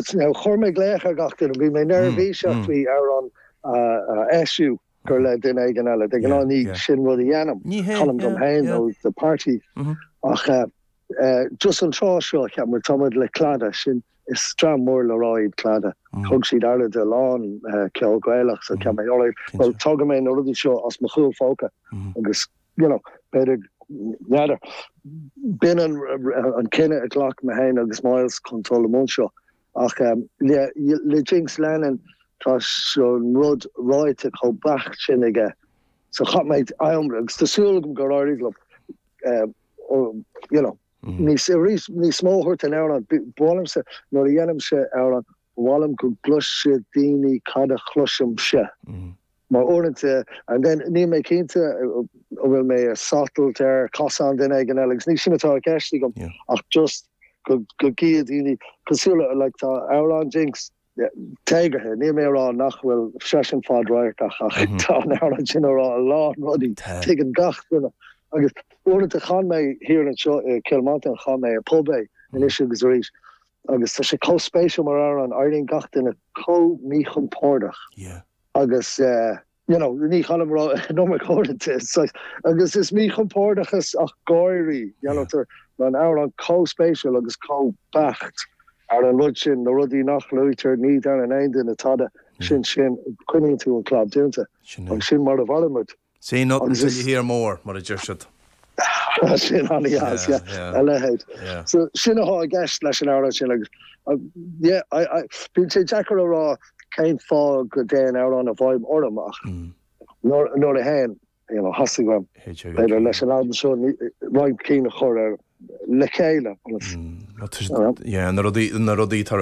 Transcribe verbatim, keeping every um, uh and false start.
Chuir mé glaoch ar gach duine, bhí mé neirbhíseach faoi amhrán a eisiú gur le duine éigin eile. De ghnáth ní sin rud a dhéanaim, canaim dom féin nó do party. Ach just an tráth seo cheap muid tá muid le Claddagh sin is dream mór le rá iad Claddagh. Thug siad aire do a lán ceol Gaelach so cheap mé alright, well tógfaidh mé na rudaí seo as mo chúl phóca agus you know b'fhéidir n'fheadar. B'in an an cinneadh a ghlac mé féin agus Myles chun dul i mbun seo. Ach le le Jinx Lennon tá an rud ráite chomh beacht sin aige. So chaith mé am agus tá súil agam gur éirigh liom you know níos arís níos mó a thabhairt don amhrán. Ba mhaith liomsa nuair a dhéanaimse amhrán ba mhaith liom go gcloisfidh daoine cad a chloisimse. Mar uaireanta and then níl mé cinnte an bhfuil mé ag satailt ar chosán duine éigin eile agus ní sin atá i gceist agam ach just go go gcífidh daoine cosúil le like tá amhrán Jinx téagartha níl mé ag rá nach bhfuil seisean fadradharcach ach tá an amhrán sin ag rá a lán rudaí tuigeann gach duine agus uaireanta chan mé thiar anseo i Cill Mhantáin chan mé i pub é anois agus arís agus tá sé chomh spéisiúil mar amhrán éiríonn gach duine chomh míchompordach agus you know ní chanaim no uaireanta agus is míchompordachas ach gáirí you know tá an amhrán chomh spéisiúil agus chomh beacht ar an rud sin na rudaí nach luaitear ní deireann aon duine tada sin sin coinníonn tú an clab dúnta agus sin mar a mhairimid. Say nothing till you hear more mar a deir siad. Sin an-deas a leithéid. So sin atá i gceist leis an amhrán sin agus yeah bíonn sé deacair a rá cén fáth go dtéann amhrán i bhfeidhm orm ach nuair a théann you know theastaigh uaim b'fhéidir leis an albam seo roinnt cinn a chur ar le chéile na rudaí na rudaí tar